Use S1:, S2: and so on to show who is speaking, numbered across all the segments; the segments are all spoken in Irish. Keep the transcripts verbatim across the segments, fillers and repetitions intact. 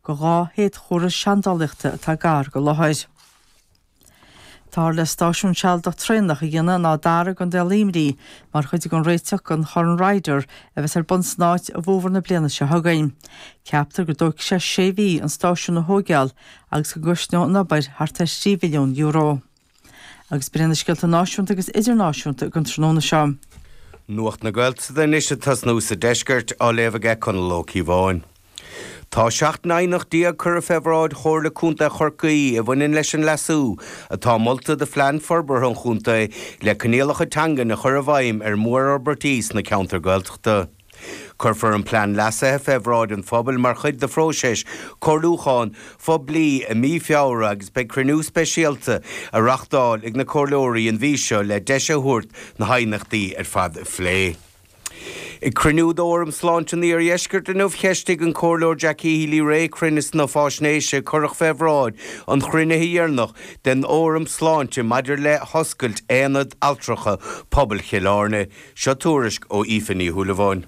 S1: go dhá shéadchomhartha seandálaíochta atá gar don láthair. Táthar le stáisiún sealadach traenach a dhéanamh in Áth Dara i gContae Luimnigh mar chuid den réiteach don Chorn Ryder a bheas ar bun san áit i bhfómhar na bliana seo chugainn. Ceaptar go dtógfaidh sé sé mhí an stáisiún a thógáil agus go gcosnóidh an obair thart ar trí mhilliún euro. Agus b'in na scéalta náisiúnta agus idirnáisiúnta don tráthnóna seo.
S2: Nuacht na Gaeltachta anois ag tosnú sa deisceart á léamh aige Conall Ó Cíobháin. Tá seacht n-aighneacht déag curtha fé bhráid Chomhairle Contae Chorcaí a bhaineann leis an leasú atá molta do phlean forbartha an chontae le coinníollacha teangan a chur i bhfeidhm ar mhórfhorbairtí sna ceantair Gaeltachta. Cuirfear an plean leasaithe fé bhráid an phobail mar chuid de phróiseas comhairliúcháin phoiblí i mí Feabhra agus beidh cruinniú speisialta á reáchtáil ag na comhairleoirí an mhí seo le deis a thabhairt na haighneachtaí ar fad a phlé. Ag cruinniú d'Fhóram Sláinte an Iardheiscirt inniu cheistigh an Comhairleoir Jackie Healy-Rae cruinneas na faisnéise a cuireadh fé bhráid an chruinnithe dheireanach den Fhóram Sláinte maidir le hoscailt Aonad Altracha Pobail Chill Airne. Seo tuairisc ó Aoife Ní Shúilleabháin.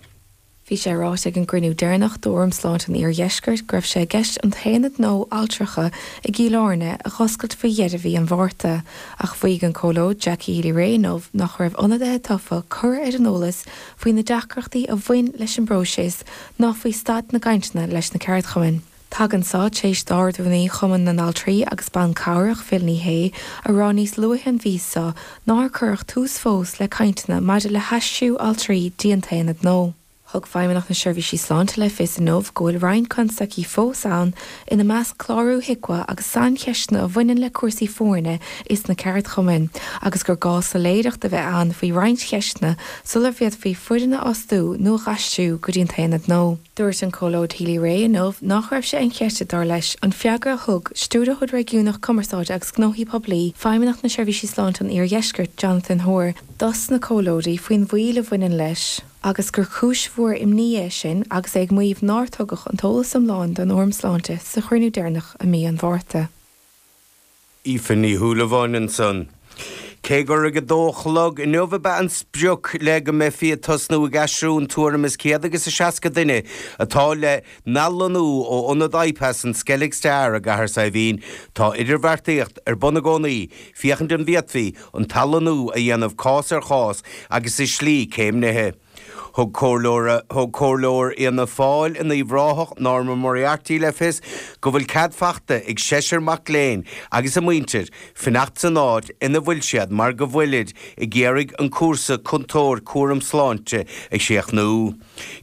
S3: Bhí sé ráite ag an gcruinniú deireanach d'Fhóram Sláinte an Iardheiscirt go raibh sé i gceist an t-aonad nua altracha i gCill Airne a dh'oscailt faoi dheireadh mhí an Mhárta, ach mhaígh an Comhairleoir Jackie Healy-Rae inniu nach raibh ionadaithe tofa curtha ar an eolas faoi na deacrachtaí a bhain leis an bpróiseas ná faoi staid na gcainteanna leis na ceardchumainn. Tagann seo tar éis d'Ard-Rúnaí Chumann na nAltraí agus Ban Cabhrach Phil Ní Sheaghdha a rá níos luaithe an mhí seo nár cuireadh tús fós le cainteanna maidir le haistriú altraí dtí an t-aonad nua. Thug Feidhmeannacht na Seirbhísí Sláinte le fios inniu go bhfuil roinnt constaicí fós ann ina measc clárú HIQA agus saincheisteanna a bhaineann le cúrsaí foirne is na ceardchumainn, agus gur gá soiléireacht a bheith ann faoi roinnt cheisteanna sular bhféadfaí foireann a fhostú nó a dh'aistriú go dtí an t-aonad nua. Dúirt an Comhairleoir Healy-Rae inniu nach raibh sé inchreidte dar leis an freagra a thug Stiúrthóir Réigiúnach Cumarsáide agus Gnóthaí Poiblí Feidhmeannacht na Seirbhísí Sláinte an Iardheiscirt Jonathan Hoare dos na comhairleoirí faoin mhoill a bhaineann leis agus gur cúis mhór imní é sin agus é ag maíomh nár tugadh an t-eolas iomlán don Fhóram Sláinte sa chruinniú deireanach i mí an Mhárta.
S2: Aoife Ní Shúilleabháin ansan. Cé gur ag a dó a chlog inniu ab ea an sprioc le go mbeifí ag tosnú ag aistriú an tuairim is céad agus a seasca duine atá le n-athlonnú ó ionad IPAS an Skellig Star i gCathair Saidhbhín, tá idirbheartaíocht ar bun i gcónaí féachaint an bhféadfaí an t-athlonnú a dhéanamh cás ar chás agus i slí céimnithe. Thug comhairleoir thug comhairleoir Fhianna Fáil in Uíbh Ráthach Norma Moriarty le fios go bhfuil cead faighte ag seisear mac léinn agus a muintir fanacht san áit ina bhfuil siad mar go bhfuilid ag iarraidh an cúrsa cúntóir cúram sláinte a chríochnú.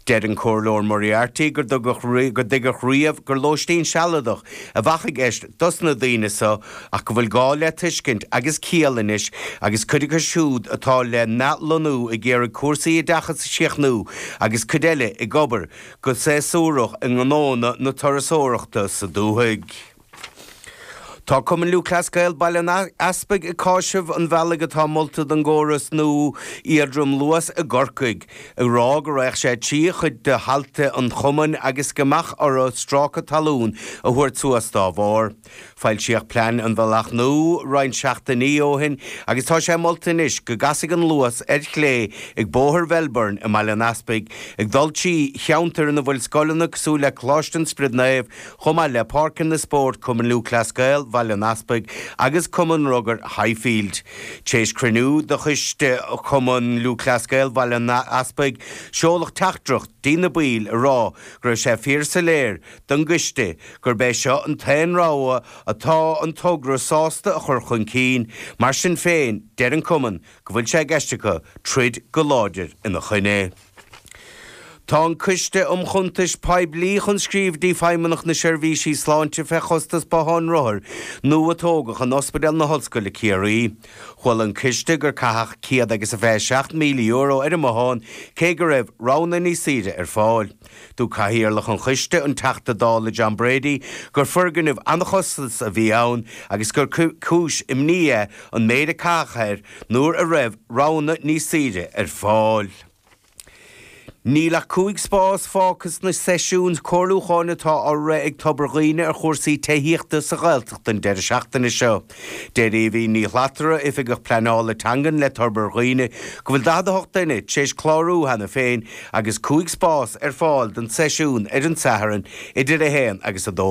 S2: Deir an Comhairleoir Moriarty gur dtugadh go dtuigeadh riamh gur lóistín sealadach a bheadh i gceist dos na daoine seo ach go bhfuil gá le tuiscint agus ciall anois agus cuid acu siúd atá le n-athlonnú ag iarraidh cúrsaí oideachais a chríochnú agus cuid eile ag obair go séasúrach i ngnónna na turasóireachta sa dúthaigh. Tá Cumann Lúthchleas Gael Baile an Easpaig ag cáiseamh an bhealaigh atá molta don gcóras nua iardrom Luas i gCorcaigh, ag rá go raghadh sé trí chuid de thailte an chumainn agus go mbeadh orthu stráice talún a thabhairt suas dá bharr. Foilsíodh plean an bhealach nua roinnt seachtainí ó shin agus tá sé molta anois go gcasfaidh an Luas ar chlé ag Bóthar Mhelbourne i mBaile an Easpaig, ag dul trí cheantar ina bhfuil scoileanna cosúil le Coláiste an Spioraid Naoimh chomh maith le páirceanna spóirt Cumann Lúthchleas Gael Bhaile an Easpaig agus Cumann Rugair Highfield. Tar éis cruinniú de choiste Chumann Lúthchleas Gael Bhaile an Easpaig, seoladh teachtaireacht dtí na baill ag rá go raibh sé fíorshoiléir don gcoiste gurb é seo an t-aon rogha atá an togra sásta a chur chun cinn, mar sin féin deir an cumann go bhfuil sé i gceist acu troid go láidir ina choinne. Tá an Coiste um Chuntais Poiblí chun scríobh dtí Feidhmeannacht na Seirbhísí Sláinte fé chostas botháin rothair nua a tógadh in Ospidéal na hOllscoile Ciarraí. Chuala an coiste gur caitheadh céad agus a fiche seacht míle euro ar an mbothán cé go raibh roghanna níos saoire ar fáil. Dúirt Cathaoirleach an choiste, an Teachta Dála John Brady, gur foirgneamh an-chostasach a bhí ann agus gur cúis imní é an méid a caitheadh air nuair a raibh roghanna níos saoire ar fáil. Níl ach cúig spás fágtha sna seisiúin comhairliúcháin atá á rith ag Tobar Dhuibhne ar chúrsaí tithíochta sa Ghaeltacht an deireadh seachtaine seo. Deir Aoibhín Ní Shlatara, Oifigeach Pleanála Teangan le Tobar Dhuibhne, go bhfuil daichead a hocht duine tar éis clárú cheana féin agus cúig spás ar fáil don seisiún ar an Satharn idir a haon agus a dó.